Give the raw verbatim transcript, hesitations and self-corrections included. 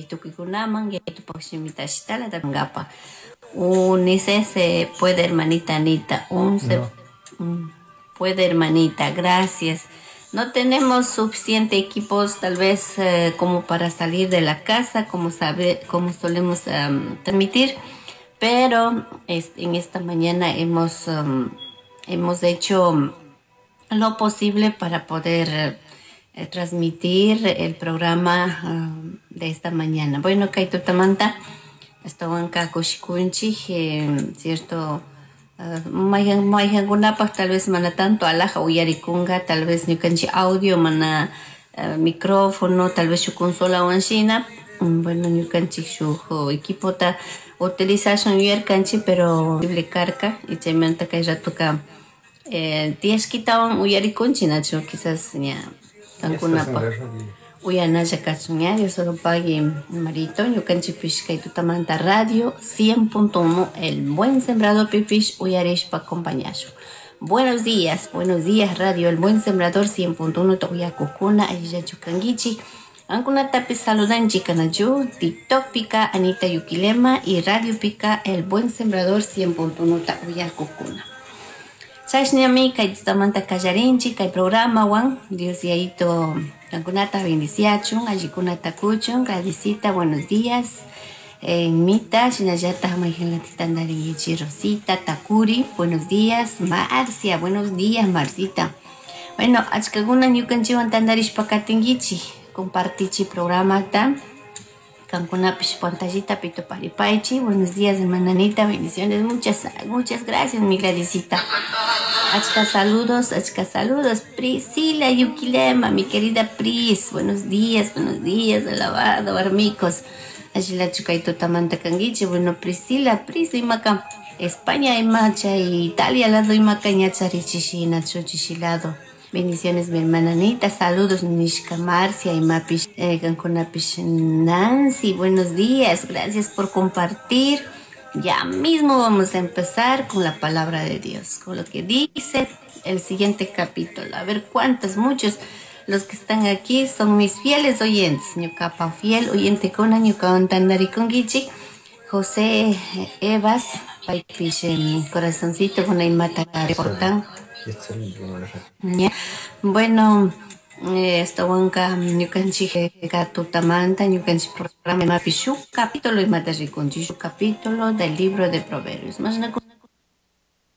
Tukuykunaman yaytupak shimita ashitala ngapa. Unice se puede, hermanita Anita. Un se No. mm, puede, hermanita. Gracias. No tenemos suficiente equipos, tal vez, eh, como para salir de la casa, como sabe, como solemos um, transmitir, pero este, en esta mañana hemos, um, hemos hecho lo posible para poder eh, transmitir el programa um, de esta mañana. Bueno, kay tutamanta, ashtawanka kushikunchik, eh, cierto, uh, mayhan mayhankunapaq tal vez mana tanto alaja uyarikunga, tal vez ñukanchik audio mana uh, micrófono, tal vez shuk consolawan shina, mm, bueno, ñukanchik shuk equipota utilizashun yuyarkanchik, pero karka, y chaymanta kay ratoka eh, tiyashkitawan uyarikunchik, nachu quizás ña kankunapaq uyanalla kachun ña, Dios lo pague, marito, ñukanchikpish kay tutamanta radio cien punto uno El Buen Sembrador pipish uyarishpa acompañashun. Buenos días, buenos días, Radio El Buen Sembrador cien punto uno uyakukuna, allillachu kankichik. Ankunatapish saludanchik kanachu, TikTok pika Anita Yuquilema y Radio pica El Buen Sembrador cien punto uno uyakukuna. Chashnami kay tutamanta kallarinchik kay programawan. Dios Yayito kankunata bendiciachun, allikunata kuchun. Gladysita, buenos días. En Mita, shinallata mayhanlatita Rosita, Takuri, buenos días. Marcia, buenos días, Marcita. Bueno, achkakuna ñukanchikwan tantarishpa katinkichik, compartichi programata. Kankunapish pantallita pito paripaichi. Buenos días, hermana Anita, bendiciones. Muchas, muchas gracias, mi Gladysita. Achka saludos, achka saludos. Priscila Yuquilema, mi querida Pris. Buenos días, buenos días, alabado, armicos. Allilachu kay tutamanta kankichik. Bueno, Priscila, Pris, imaka España imacha y Italia lado imaka ñacharichishina chuchishi lado. Bendiciones, mi hermana Anita. Saludos, Nishka Marcia y Mapish, eh, Gankunapish Nancy. Buenos días, gracias por compartir. Ya mismo vamos a empezar con la palabra de Dios, con lo que dice el siguiente capítulo. A ver cuántos, muchos los que están aquí son mis fieles oyentes. Ñucapa fiel oyente con ñuka tandarikunkichik. José Evas, paypish corazoncito con la imata reportan. Ya. Bueno, ashtawanka ñukanchik tutamanta ñukanchik programa imapi shuk capítulo imata rikunchik, shuk capítulo del libro de Proverbios. Mashna